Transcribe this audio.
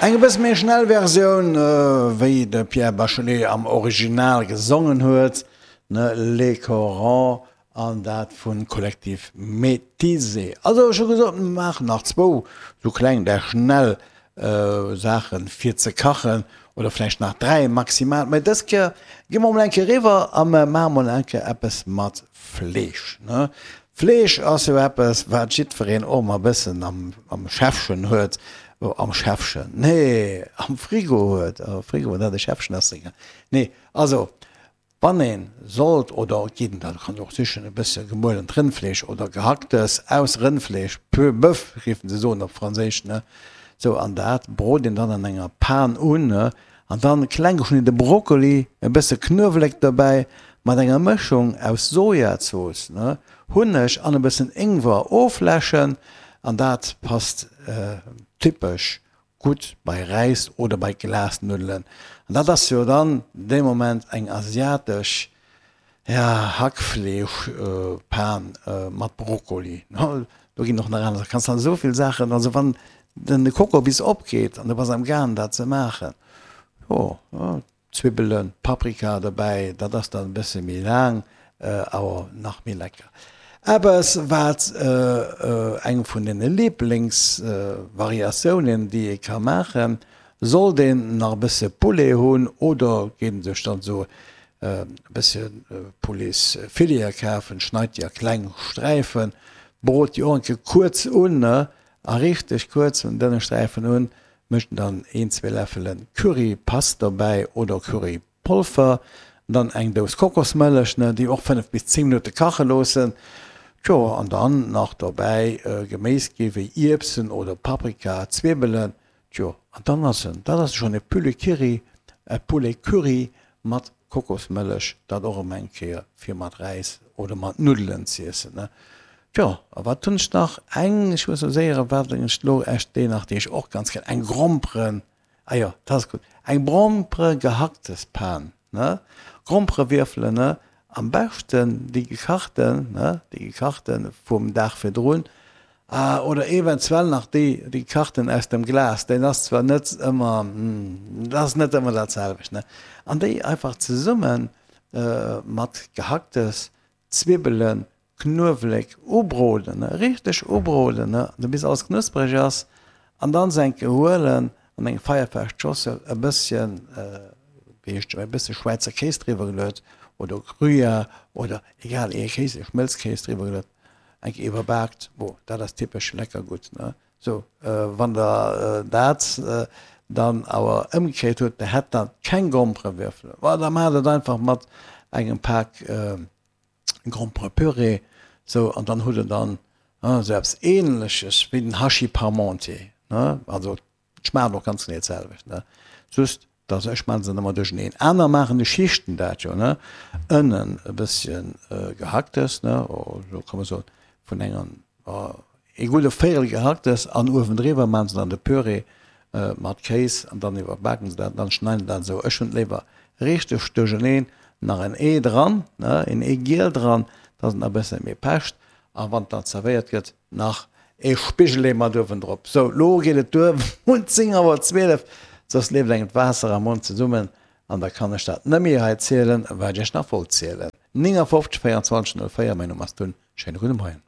Eng e bësse méi schnell Versioun, wéi de Pierre Bachelet am Original gesongen huet, ne, Les Corons, an dat vu Collectif Métisé. Also ech hu gesot, mir maachen nach zwou sou kleng, där schnell Saachen fir ze kachen, oder vläicht nach 3 maximal, mä dës Kéier gi mer mol eng Kéier eriwwer a mer maache mol eng Kéier eppes mat Fleesch, ne. Fleesch ass jo eppes wat jiddwereen och emmer e bëssen am am Schäffchen huet, am Schäffchen, nee am Frigo huet, Frigo, dat e Schäffchen ass, nee also Wann een sollt, oder et geet dat kann och sichen, e bësse gemuelent Rëndfleesch oder Gehacktes aus Rëndfleesch, peu boeuf géifen se soen op Franséisch, ne, sou, an dat brot een dann an enger Pan un, ne, an dann kleng geschnidde Brokkoli, e bësse Knuewelek dobäi, mat enger Mëschung aus Sojazooss, ne, Hunneg an e bëssen Ingwer ofläschen, an dat passt typesch Gutt bei Räis oder bei Glasnuddelen. An dat ass jo dann dee Moment eng asiatesch, ja, Hackfleeschpan mat Brokkoli. Do ginn och nach aner Saachen. Kanns dann esou vill Saachen, also wann den de Kokobis opgeet an du bass am gaang dat ze maachen, jo. Zwibbelen, Paprika dobäi, dat ass dann e bësse méi laang, awer nach méi lecker. Eppes wat eng vun den Liblingsvariatiounen déi ee ka maachen, sollt een nach e bësse Poulet hunn oder geet een sech dann esou e bësse Pouletsfileten kafen, schneit déi a kleng Sträifen, brot déi och eng Kéier kuerz un, a richteg kuerz un dënne Sträifen un, Mécht dann een, zwee Läffelen Currypaste dobäi oder Currypolver, dann eng Dous Kokosmëllech, ne, déi och 5 bis 10 Minutte kache loossen. Tjo, an dann nach dobäi Geméis gi wéi Ierbsen oder Paprika, Zwiebelen. Tjo, an dann ass en, dat ass schonn e Poulet Curry, e Poulet Curry mat Kokosmëllech, dat och erëm eng Kéier fir mat Räis oder mat Nuddelen z'iessen, ne. Tjo, a wat hunn ech nach? Eng, ech muss elo séier, wat hunn ech elo echt déi nach, déi ech och ganz gär, eng Gromperen, ah jo, dat ass gutt, eng Grompere-Gehacktespan, ne, Gromperewierfelen, ne, am beschten déi gekachten, ne, déi gekachten vum Dag virdrun, ah, oder eventuell nach déi, déi gekachten aus dem Glas, deen ass zwar net ëmmer, dat ass net ëmmer dat selwecht, ne, an déi einfach zesumme mat Gehacktes, Zwibbelen, Knuewelek ubroden, ne, richteg ubroden, ne, also bis alles knuspereg ass, an dann se enke huelen an eng feierfest Schossel e bësschen, wéi heescht e bësse Schwäizer Kéis driwwer geluet oder Gruyère oder egal ee Kéis, e Schmëlzkéis driwwer geluet, enke iwwerbaakt, bon, dat ass typesch lecker gutt, ne. Sou, wann der dat dann awer ëmgekréit hutt, der hätt dann keng Gromperewürfelen, ma da maacht et einfach mat engem Pak Gromperepüree, sou, an dann hutt der dann esou eppes Ähnleches wéi den Hachis parmentier, ne, also et schmaacht och ganz genee d'selwecht, ne, just dass ech maachen se ëmmer duercheneen. Aner maachen de Schichten dat jo, ne, ënnen e bësschen Gehacktes, ne, esou kann man soen, vun enger Ee gudde Véierel Gehacktes an uewendriwwer maachen se dann de Püree mat Kéis an dann iwwerbaken se dat an dann schneiden se dat esou. Ech hunn et léiwer richteg duercheneen, nach en Ee dran, ne, een Eegiel dran, dass et nach e bësse méi pecht a wann et dann zerwéiert gëtt, nach ee Spigelee mat uewendrop. Sou, lo geet et duer, un 10 Auer 12, soss leeft engem d'Waasser am Mond zesummen an da kann ech dat net méi hei zielen, wat ech iech nach wollt zielen. 59 24 04, mäin Numm ass Dunn, schéine gudde Moien.